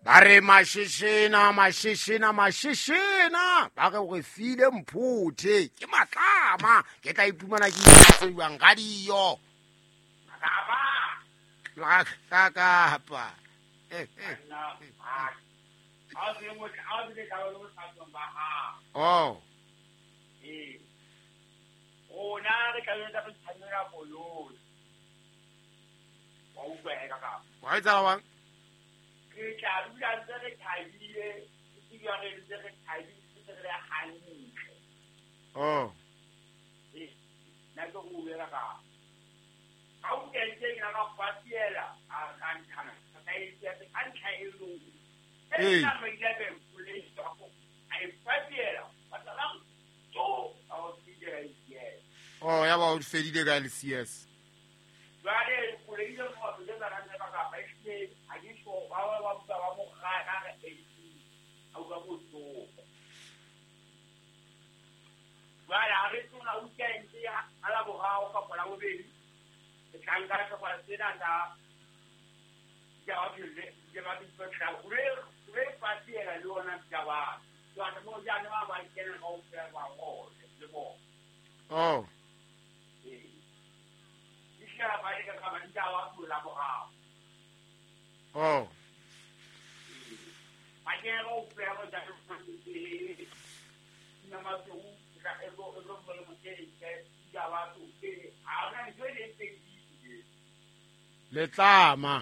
Ba re mashishina mashishina mashishina ba re gore file mphuthe ke matlama ke tla iphumana ke itsewang ga diyo ka kapa oh rona re tla etsa re tshwanela koloi wa utlwa ka kapa wa etsa wa ke tla dula ntse re thabile ke re ntse re thabile re le hantle oh nna ke go bua ka ha o kentse ke ka fatiela a ka nthana ka itse ka ntlha e leng e nna ba ile ba mpolesa a e fatiela ba tla to a o tsile yes oh ya ba o fedile ka le CS jwale koloi le go le ba ka ka ba ile a ke so ba ba ba ba mo ga ga re e a utlwa bohloko jwale ha re tsona o kentse ha la boraro kapa la bobedi ke tla nka sehlopha sena sa re fatiela le ona taba jwale mo jana ba ba kena kaofela ba ngole le bona oh ee ke ba ile ka ba ntaba la boraro oh ba kena kaofela ba tla nna matlo ka e go e go mo ke ke ya ba tu ke a ona ntho e teng letlama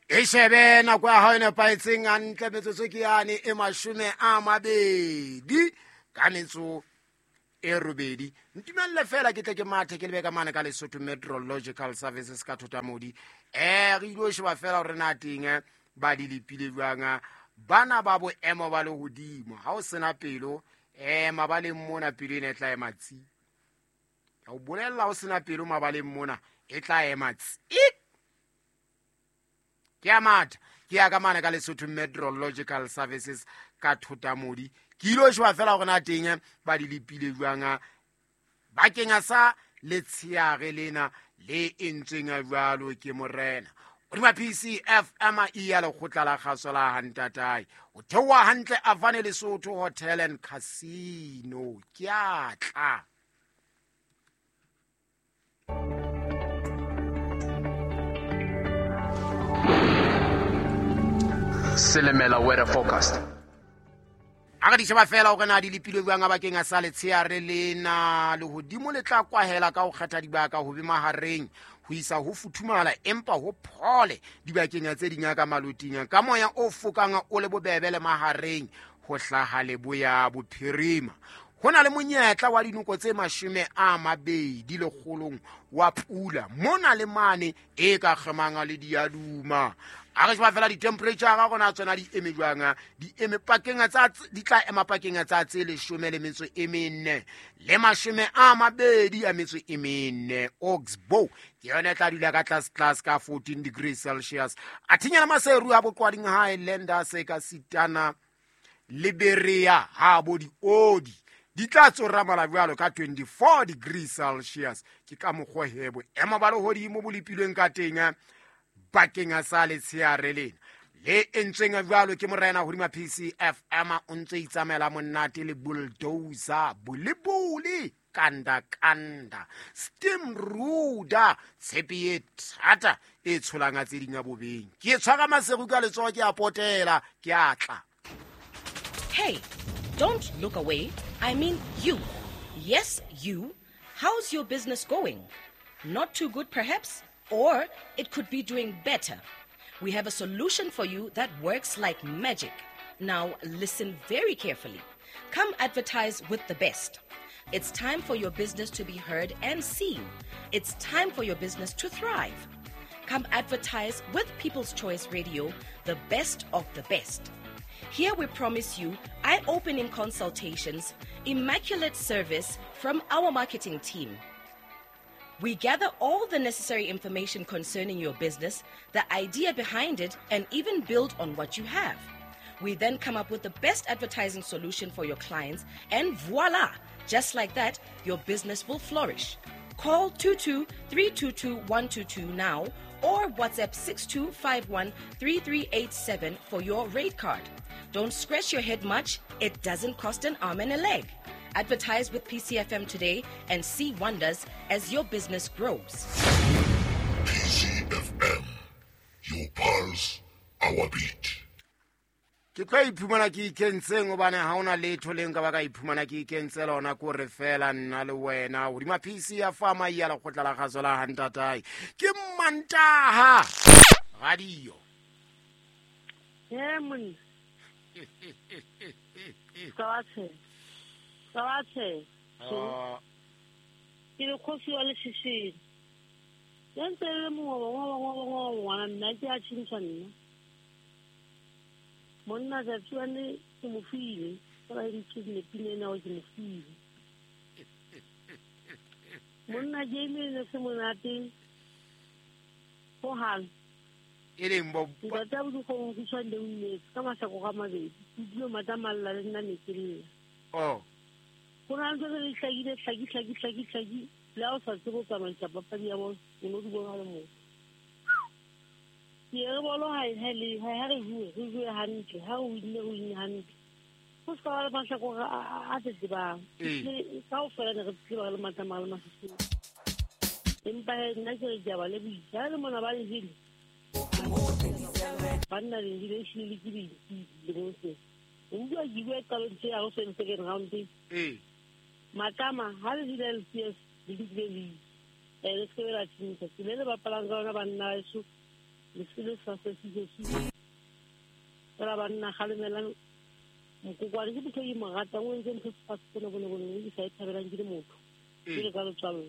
e shebe nako ya hao e nepahetseng hantle metsotso ke yane e 28 ka metso e robedi. Ntumelle fela ke tle ke mathe ke lebe ka mane ka Lesotho Meteorological Services ka Thotamodi. Re ile ho sheba fela hore na teng ba di lepile jwang bana ba boemo ba lehodimo. Ha o sena pelo mabaleng mona pelo ena e tla ema tsi. Ka o bolella o sena pelo mabaleng mona e tla ema tsi. Ke a matha ke ya ka mane ka Lesotho Meteorological Services ka Thotamodi. Ke ile ho sheba fela hore na teng ba di lepile jwang bakeng sa letsheare lena le entsweng jwalo ke morena. Hodima PCFM e ya lekgotla la kgaso la Hantatae. O theoha hantle Avane Lesotho Hotel and Casino. Ke a tla. Silimela weather forecast. A re di sheba fela hore na di lepile jwang bakeng sa letsheare lena. Lehodimo le tla kwahela ka ho kgetha dibaka ho be mahareng ho isa ho futhumala empa ho phole dibakeng tse ding ka maloting ka moya o fokang o le bobebe le mahareng ho hlaha leboya bophirima. Ho na le monyetla wa dinoko tse 20 lekgolong wa pula mona le mane e ka kgemang le diaduma. A re sheba fela di-temperature ga gona tsona di eme jwang, di eme pakeng tsa di tla ema pakeng tsa tse 14 le 24. Oxbow ke yona e tla dula ka tlase tlase ka 14 degrees Celsius. A thinyana Maseru a boqwading Highlanders ka sitana Liberia ha bo diodi di tla tsoramala jwalo ka 24 degrees Celsius. Ke ka mokgwa hebo ema ba lehodimo bo lepilweng ka teng bakeng sa letsheare lena le entsweng jwalo ke morena hodima PCFM. O ntse itsamaela monate le bulldozer bolebole kanda kanda steam ruda tshepe e thata e tsholanga tse ding bobeng. Ke tshwara Maseru ka letsoho ke a potela ke a tla. Hey, don't look away. I mean you. Yes, you. How's your business going? Not too good perhaps? Or it could be doing better. We have a solution for you that works like magic. Now listen very carefully. Come advertise with the best. It's time for your business to be heard and seen. It's time for your business to thrive. Come advertise with People's Choice Radio, the best of the best. Here we promise you eye-opening consultations, immaculate service from our marketing team. We gather all the necessary information concerning your business, the idea behind it, and even build on what you have. We then come up with the best advertising solution for your clients, and voila! Just like that, your business will flourish. Call 22 322 122 now or WhatsApp 6251 3387 for your rate card. Don't scratch your head much, it doesn't cost an arm and a leg. Advertise with PCFM today and see wonders as your business grows. PCFM, your pulse, our beat. Ke tlo iphumana ke ikentseng hobane ha hona letho le nka ba ka iphumana ke ikentse lona ko re fela nna le wena hodima PC ya fama ya lekgotla la kgaso la hantatae ke Mantaha radio. He monna Ka ke le kgosi wa lešešeng ya ntse le mongwe ngwana nna ke a tšhintšha nna monna tsatsi wane ke mo file ka ba ntse pina ena ke mo file monna game ne se monate ho hang e leng bo ntate bo go go tshwande o ne ka masako ga mabedi dilo matamalla le nna ne ke lla oh go na le le hlakile hlaki le a o sa tsebo tsamaisa papadi ya bona o no di bona le mo ke re bolo ha re bue hantle ha o winne hantle go ska ba le mahlakore a tsebang kaofela ne re tseba le matamala le masisi empa nna ke re ke a ba lebohisa le mona ba le jele banna le jele ehlile ke dilemong se o bua ke bua qalong tse ya go se second round Matama ha le jele LCS le dile le le se la tshintsa ke le bapalang ka ona banna eso le se le sa se fela banna galemelang mokokwane ke motho e mo ratang o entse ntho se se bone ke sa e thabelang ke le motho ke le ka letswalo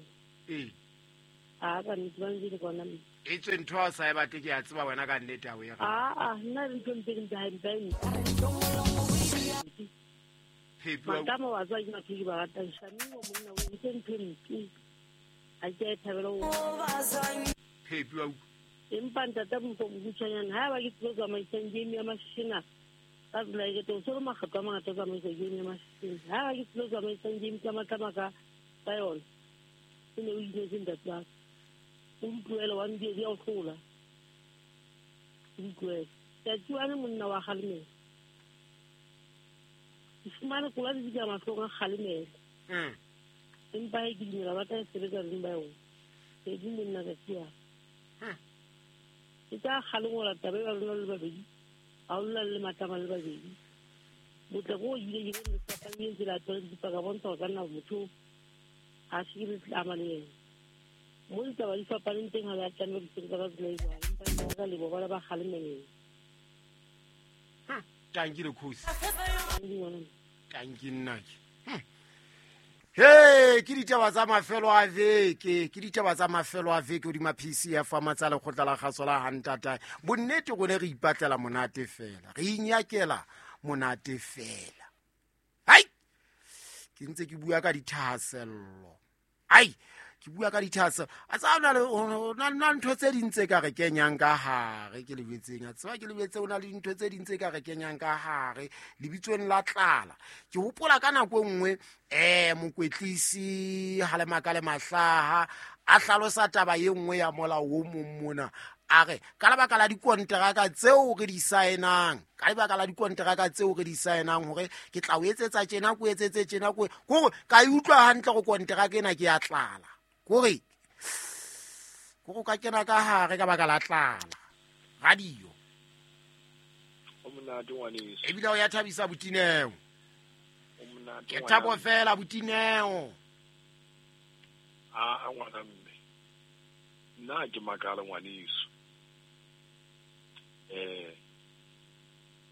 a ka nnete ba ntse le bona e tswe ntho a sa e batle ke a tseba wena ka nnete a o e a nna le ntho mpe mpe Matama wa tswa ke batho ke ba ratang Shamiwa monna o entse ntho mpe a ke e thabela o Phepi wa empa ntata mokgutshwanyane ha ba ke tlo tsamaisang game ya mashishina ka tsela e ke tlo solo makgetlo a mangata tsamaisa game ya mashishina ha ba ke tlo tsamaisang game tsa matlama ka yona e ne o inetse ntate wa o utlwele wa ndie di a o hlola o utlwele tsatsi wane monna wa kgalemela ke fumane kola di ka mahlong a kgalemela empa he ke dumela ba tla e sebetsa beng ba yona ke di monna tsatsi wa ke tsa kgalengola taba e ba lona le babedi ga o lla le matlama le babedi botle ko ile ke le fapang tsela tsa dipaka bontsha ka nna motho ha se ke le tlama le yena mo ditaba di fapaneng teng ha ba tlameha ho sebetsa ka tsela e jwalo empa ka lebo ba ba kgalemeleng Tanki le khosi tanki nna ke Hey, ke ditaba tsa mafelo a veke, ke ditaba tsa mafelo a veke hodima PC ya fama tsa lekgotla la kgaso la hantata. Bonnete rone re ipatlela monate fela, re inyakela monate fela. Hai! Ke ntse ke bua ka dithahasello. Ai, ke bua ka dithahasello. A tsa ona le na ntho tse ding tse ka re kenyang ka hare ke lebetseng. A tseba ke lebetse ona le dintho tse ding tse ka re kenyang ka hare lebitsong la tlala. Ke hopola ka nako nngwe mokwetlisi Halemaka le Mahlaha a hlalosa taba e nngwe ya molao o mong mona a re ka lebaka la dikonteraka tseo re di saenang ka lebaka la dikonteraka tseo re di saenang hore ke tla o etsetsa tjena ko etsetse tjena ko kore ka e utlwa hantle go konteraka ena ke ya tlala kore go ka kena ka hare ka baka la tlala radio o monate ngwaneso ebile o ya thabisa botineo o monate ke thabo fela botineo a ngwana mme nna ke makala ngwaneso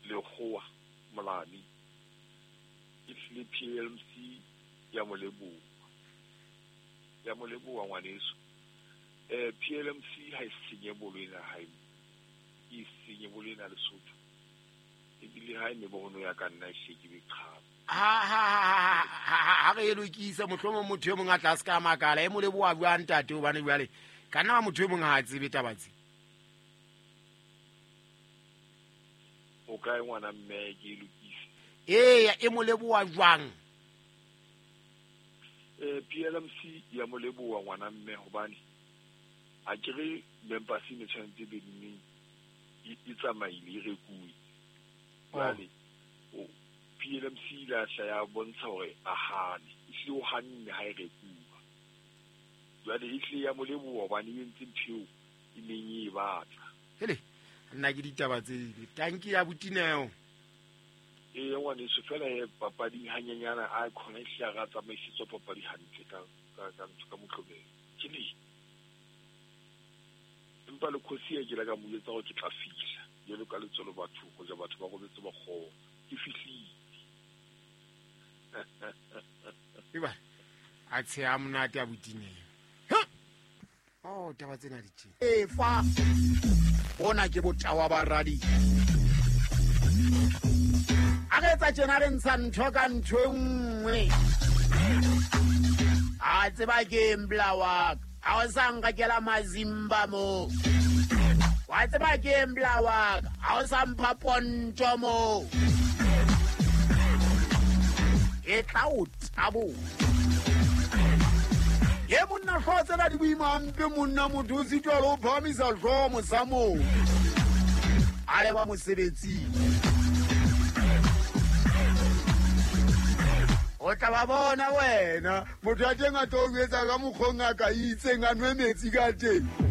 lekgowa molami e hlile PLMC ya moleboa ngwaneso PLMC ha e senye bolo ena ha e senye bolo ena Lesotho ebile ha e mebono ya ka nna e hle ke qhaba ha re lokisa mohlomong motho e mong a tla se ka makala e moleboa bua ntate hobane jwale ka nna motho e mong ha a tsebe taba tse o kae ngwana mme ke e lokise? Eya, e mo leboha jwang? PLMC ya mo leboha ngwana mme hobane a ke re members ne tshwanetse be neng e tsamaile e rekuwe. Jwale PLMC la hla ya bontsha hore a hane, ehlile o hanne ha e rekuwa. Jwale ehlile ya mo leboha hobane e entse ntho eo e neng e batla. Hele, nna ke ditaba tse ding. Tanki ya botineo. Ee, ngwaneso, fela he papading hanyenyana a khona ehlile a ra tsamaisetswa papadi hantle ka ka ntho ka moqobelo. Ke le empa le khosi e ke la ka mo jwetsa hore ke tla fihla jwalo ka letsolo batho ho ja batho ba robetse ba kgona. Ke fihlile. Eba a tsheha monate a botineo. Oh, taba tsena di tjena. E fa bona ke botawa ba radio. A re etsa tjena re ntsha ntho ka ntho e nngwe. A tseba ke mbla wa ka. Ha o sa nkakela mazimba mo. Wa tseba ke mbla wa ka. Ha o sa mpha ponto mo. E tla o tabo. Ye monna hlooho tsena di boima hampe monna, motho o sitwa le ho phahamisa hlooho mosamong. A leba mosebetsing. O tla ba bona wena, motho ya teng a tlo o jwetsa ka mokgwa o ngaka e itseng a nwe metsi ka teng.